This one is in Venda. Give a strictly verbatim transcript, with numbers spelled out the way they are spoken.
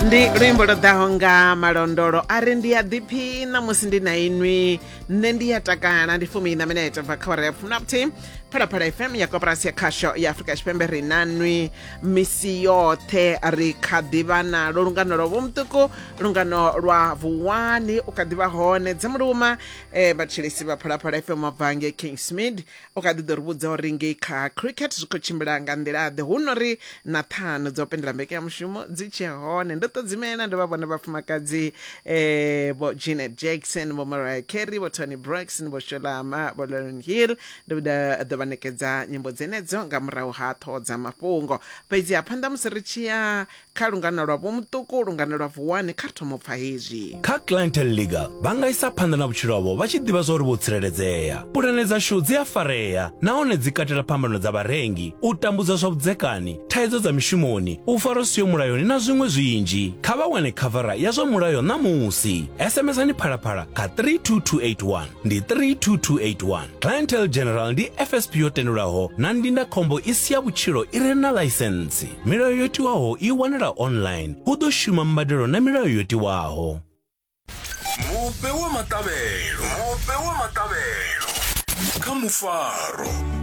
Ndi luimbo lwo ḓaho nga malondolo a ri ndi a ḓiphina musi ndi na inwi, nṋe ndi ya takala. Ndi fumi na minete bva kha awara ya fumi na vhuthihi, Phalaphala F M ya Koporasi ya Khasho ya Afrika Tshipembe. Ri na nwi misi yoṱhe, ri kha ḓivha nalo lungano lwa vhomuṱuku, lungano lwa Vuwani u kha ḓivha hone dzamuluma. eh, vhatshilisi vha Phalaphala F M bva ngei Kingsmead u kha ḓi ḓo ri vhudza uri ngei kha cricket zwi khou tshimbila nga nḓila ḓe, hu no ri na ṱhanu dzo pendela mbekanyamushumo dzi tshe hone. Ndo ṱodzimela ndo vha vhona vhafumakadzi eh, vho Janet Jackson, vho Mariah Carey, vho Toni Braxton, vho Sholama, vho Lauryn Hill. Ndo ḓo vha ṋekedza nyimbo dzenedzo nga murahu ha ṱhoho dza mafhungo. Fhedzi ha phanḓa musi ri tshi ya kha lungano lwa vhomuṱuku, lungano lwa Vuwani, kha ri thoma u pfa hezwi. Kha Clientele Legal vha nga isa phanḓa na vhutshilo havho vha tshi ḓivha zwa uri vho tsireledzea. Pulane dzashu dzi a farea nahone dzi katela phambano dza vharengi, u tambudza zwa vhudzekani, thaidzo dza mishumoni, u farwa siho mulayoni na zwiṅwe zwinzhi. Kha vha wane khavara ya zwa mulayo ṋamusi. S M Sani Phalaphala kha three two two eight one, ndi three two two eight one. Clientele General ndi F S P yo tendelwaho na ndindakhombo i si ya vhutshilo i re na ḽaisentsi. Milayo yo tiwaho i wanala online. Hu ḓo shuma mbadelo na milayo yo tiwaho. Mufhe wa maṱavhelo, mufhe wa maṱavhelo kha mufaro.